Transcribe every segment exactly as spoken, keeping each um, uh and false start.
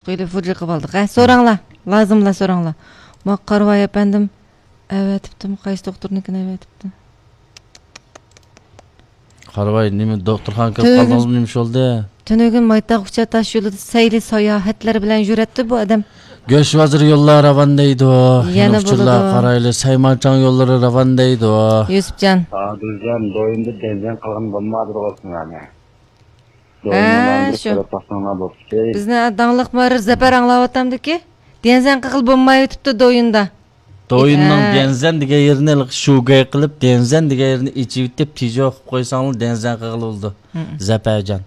قويۇلۇپ ۋۇجۇ قىلىۋالدۇق. ھە، سوراڭلار. لازىملا سوراڭلار. ما قارىۋاي ئەپەندىم ئەۋەتىپتىمۇ؟ قايسى دوختۇرنىڭكىنى ئەۋەتىپتۇ؟ قارىۋاي، نېمە، دوختۇرخانىغا كىرىپ تۈنۈگۈن، قالدىڭىزمۇ؟ نېمە ئىش بولدى؟ تۈنۈگۈن مايتاغ ئۇچار تاش يولىدا سەيلى ساياھەتلەر بىلەن يۈرەتتى بۇ ئادەم. گۆش بازىرى يوللار راۋان دەيدۇ. يەنە ئۇچۇرلار بولىدۇ. قارايلى، سەيمانچاڭ يوللىرى راۋان دەيدۇ. يۈسۈپجان. ئادىلجان، دويۇمدا دەنزەن قىلغان بولمادى بولسۇن يەنە. ھە، شۇ. بىزنىڭ داڭلىق مۇھەررىر زەپەر ئاڭلاۋاتامدىكى؟ ديەنزەن قىغىل بولمايۋېتىپتۇ دويۇندا. دويۇننىڭ ھە. ديەنزەن دېگەن يېرىنى شۇگەي قىلىپ، ديەنزەن دېگەن يېرىنى ئېچىۋېتىپ، تىجو قىلىپ قويساڭلار، ديەنزەن قىغىل بولىدۇ. ھە. زەپەرجان.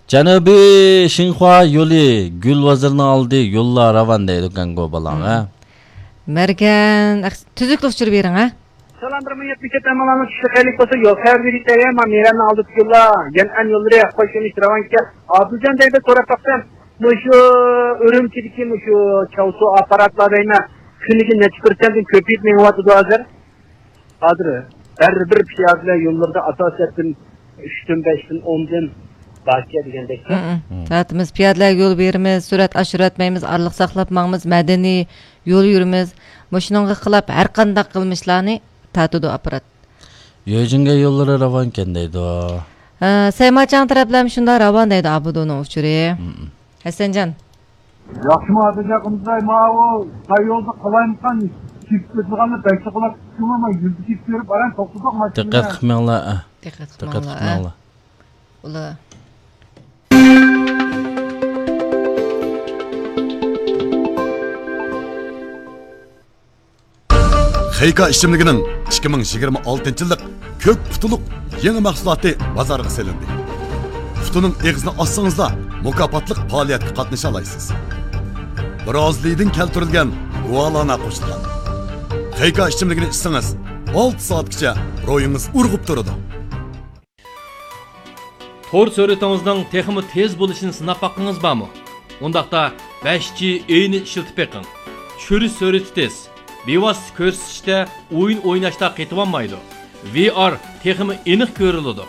جەنۇبىي شىنخۇا يولى، گۈل بازىرىنىڭ ئالدى، يوللار راۋان دەيدۇ، گاڭگو بالاڭ، ھە. مەرگەن، ئەخ-، تۈزۈكلۈك ئۇچۇر بېرىڭ، ھە. سالام، بىر مىڭ يەتمىش يەتتە ماڭلارنىڭ چۈشلۈك خەيرلىك بولسۇن. يول خەۋەر بېرىش دەيمەن، مانا مېرەننىڭ ئالدىدىكى يوللار، يەنئەن يوللىرى، خوش يۆنىلىش راۋانكەن. ئادىلجان دەيدۇ، سوراپ باقسام، مۇشۇ ئۈرۈمچىدىكى مۇشۇ چاۋسۇ ئاپپاراتلار دەيمەن، كۈنىگە نەچچە پىرسەنتتىن كۆپىيىپ مېڭىۋاتىدۇ ھازىر. ھازىر ھەر بىر پىيادىلەر يوللىرىدا ئاساسىيەتتىن ئۈچتىن، بەشتىن، ئوندىن باركەن دېگەندەك. ھە، ھە. ھە. سائىتىمىز پىيادىلەرگە يول بېرىمىز، سۈرئەت ئاشۇرۇۋەتمەيمىز، ئارىلىق ساقلاپ ماڭىمىز، مەدەنىي يول يۈرىمىز. مۇشۇنىڭغا خىلاپ ھەر قانداق قىلمىشلارنى تارتىدۇ ئاپپارات. يۆجىڭگە يوللىرى راۋانكەن دەيدۇ. ھە، سەيماچاڭ تەرەپلەرمۇ شۇنداق راۋان دەيدۇ ئابۇدۇنىڭ ئۇچۇرى. ھە، ھە. ھەسەنجان. ياخشىمۇ ئادىلجان قىمزاي، ماۋۇ ساي يولدا قالايمىقان كېسىپ كېتىدىغاننى بەك چوقۇلاپ كېتىپتىمۇ، مەن يۈزدە كېسىپ بېرىپ باراي، توختىدۇق ماشىنا. دىققەت قىلماڭلار، ئە. دىققەت دىققەت قىلماڭلار، ئە. قىلماڭلار. ئۇلار. خېيكا ئىچىملىكىنىڭ ئىككى مىڭ يىگىرمە ئالتىنچى يىللىق كۆك پۇتىلىق يېڭى مەھسۇلاتى بازارغا سېلىندى. پۇتىنىڭ ئېغىزىنى ئاچسىڭىزلا، مۇكاپاتلىق پائالىيەتكە قاتنىشالايسىز. برازىلىيىدىن كەلتۈرۈلگەن گۇالانا قوشۇلغان. خېيكا ئىچىملىكىنى ئىچسىڭىز، ئالتە سائەتكىچە روھىڭىز ئۇرغۇپ تۇرىدۇ. تور سۈرئىتىڭىزنىڭ تېخىمۇ تېز بولۇشىنى سىناپ باققىڭىز بارمۇ؟ ئۇنداقتا بەش جى ئېينى ئىشلىتىپ بېقىڭ. چۈشۈرۈش سۈرئىتى تېز، بىۋاسىتە كۆرسىتىشتە ئويۇن ئويناشتا قېتىۋالمايدۇ. ۋى ئار تېخىمۇ ئېنىق كۆرۈلىدۇ.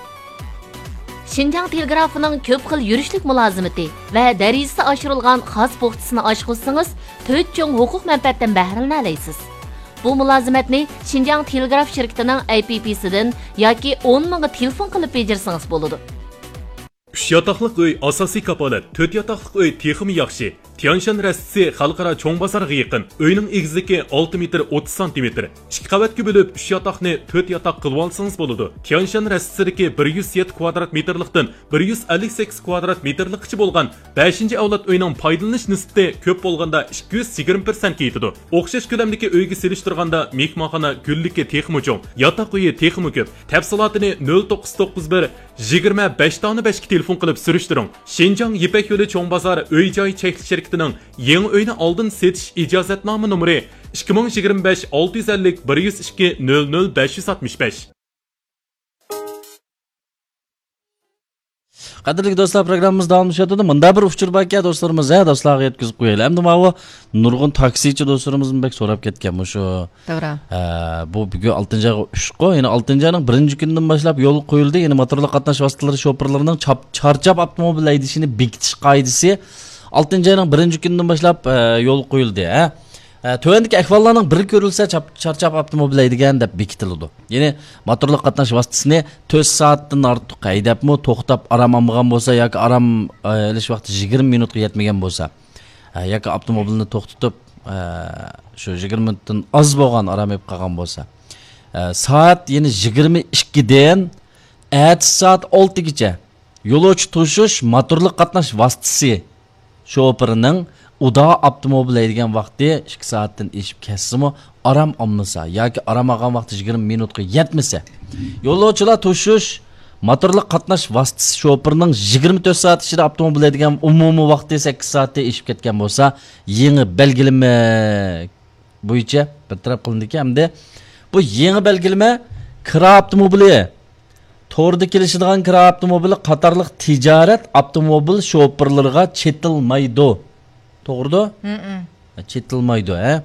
شىنجاڭ تېلېگرافىنىڭ كۆپ خىل يۈرۈشلۈك مۇلازىمىتى ۋە دەرىجىسى ئاشۇرۇلغان خاس پوختىسىنى ئاچقۇزسىڭىز، تۆت چوڭ ھوقۇق مەنپەئەتتىن بەھرىلىنەلەيسىز. بۇ مۇلازىمەتنى شىنجاڭ تېلېگراف شىركىتىنىڭ ئەي پى پى سىدىن ياكى ئون مىڭغا تېلېفون قىلىپ بېجىرسىڭىز بولىدۇ. ئۈچ ياتاقلىق ئۆي ئاساسىي كاپالەت، تۆت ياتاقلىق ئۆي تېخىمۇ ياخشى. تيەنشان رەستىسى خەلقئارا چوڭ بازار يېقىن. ئۆينىڭ ئېگىزلىكى ئالتە مېتىر ئوتتۇز سانتىمېتىر. ئىككى قەۋەتكە بۆلۈپ، ئۈچ ياتاقنى تۆت ياتاق قىلىۋالسىڭىز بولىدۇ. تيەنشان رەستىسىدىكى بىر يۈز يەتتە كۋادرات مېتىرلىقتىن بىر يۈز ئەللىك سەككىز كۋادرات مېتىرلىققىچە بولغان بەشىنچى ئەۋلاد ئۆينىڭ پايدىلىنىش نىسبىتى كۆپ بولغاندا ئىككى يۈز يىگىرمە پىرسەنتكە يېتىدۇ. ئوخشاش كۆلەمدىكى ئۆيگە سېلىشتۇرغاندا مېھمانخانا گۈللۈكى تېخىمۇ چوڭ، ياتاق ئۆيى تېخىمۇ كۆپ. تەپسىلاتىنى نۆل توققۇز توققۇز بىر، يىگىرمە بەش دانە بەشكە تېلېفون قىلىپ سۈرۈشتۈرۈڭ. شىنجاڭ يىپەك يولى چوڭ بازار ئۆي جاي چەكلىك شىركىتىنىڭ يېڭى ئۆينى ئالدىن سېتىش ئىجازەتنامە نومۇرى ئىككى مىڭ يىگىرمە بەش ئالتە يۈز ئەللىك بىر يۈز ئىككى نۆل نۆل بەش يۈز ئاتمىش بەش. قەدىرلىك دوستلار، پروگراممىمىز داۋاملىشىۋاتىدۇ. مۇندا بىر ئۇچۇر باركەن، دوستلىرىمىز، ھە، دوستلارغا يەتكۈزۈپ قويايلى. ئەمدى ماۋۇ نۇرغۇن تاكسىچى دوستلىرىمىزمۇ بەك سوراپ كەتكەن مۇشۇ. توغرا. ھە، بۇ بۈگۈن ئالتىنچى ئايغا ئۈچقۇ، يەنى ئالتىنچى ئاينىڭ بىرىنچى كۈنىدىن باشلاپ يولغا قويۇلدى. يەنى موتورلۇق قاتناش ۋاسىتىلىرى شوپۇرلىرىنىڭ چاپ-، چارچاپ ئاپتوموبىل ھەيدىشىنى بېكىتىش قائىدىسى ئالتىنچى ئاينىڭ بىرىنچى كۈنىدىن باشلاپ، ھە، يولغا قويۇلدى، ھە. ھە، تۆۋەندىكى ئەھۋاللارنىڭ بىرى كۆرۈلسە، چاپ-، چارچاپ ئاپتوموبىل ھەيدىگەن دەپ بېكىتىلىدۇ. يەنى موتورلۇق قاتناش ۋاسىتىسىنى تۆت سائەتتىن ئارتۇق ھەيدەپمۇ، توختاپ ئارام ئالمىغان بولسا ياكى ئارام، ئە، ئېلىش ۋاقتى يىگىرمە مىنۇتقا يەتمىگەن بولسا، ئە، ياكى ئاپتوموبىلنى توختىتىپ، ئە، شۇ يىگىرمە مىنۇتتىن ئاز بولغان ئارام ئېلىپ قالغان بولسا، ئە، سائەت يەنى يىگىرمە ئىككىدىن ئەتىسى سائەت ئالتىگىچە يولۇچى توشۇش موتورلۇق قاتناش ۋاسىتىسى شوپۇرىنىڭ ئۇدا ئاپتوموبىل ھەيدىگەن ۋاقتى ئىككى سائەتتىن ئېشىپ كەتسىمۇ، ئارام ئالمىسا ياكى ئارام ئالغان ۋاقتى يىگىرمە مىنۇتقا يەتمىسە، يولۇچىلار توشۇش موتورلۇق قاتناش ۋاسىتىسى شوپۇرىنىڭ يىگىرمە تۆت سائەت ئىچىدە ئاپتوموبىل ھەيدىگەن ئومۇمىي ۋاقتى سەككىز سائەتتىن ئېشىپ كەتكەن بولسا، يېڭى بەلگىلىمە بويىچە بىر تەرەپ قىلىندىكەن. ئەمدى بۇ يېڭى بەلگىلىمە كىرا ئاپتوموبىلى، توردا كېلىشىدىغان كىرا ئاپتوموبىلى قاتارلىق تىجارەت ئاپتوموبىل شوپۇرلىرىغا چېتىلمايدۇ. توغرىدۇ؟ ھە، چېتىلمايدۇ، ھە؟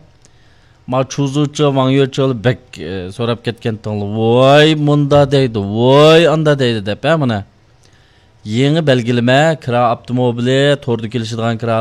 ما چۇزۇچى، ۋاڭيۆچى بەك، ئە، سوراپ كەتكەن تاڭلا، ۋاي مۇندا دەيدۇ، ۋاي ئاندا دەيدۇ دەپ، ھە، مانا. يېڭى بەلگىلىمە، كىرا ئاپتوموبىلى، توردا كېلىشىدىغان كىرا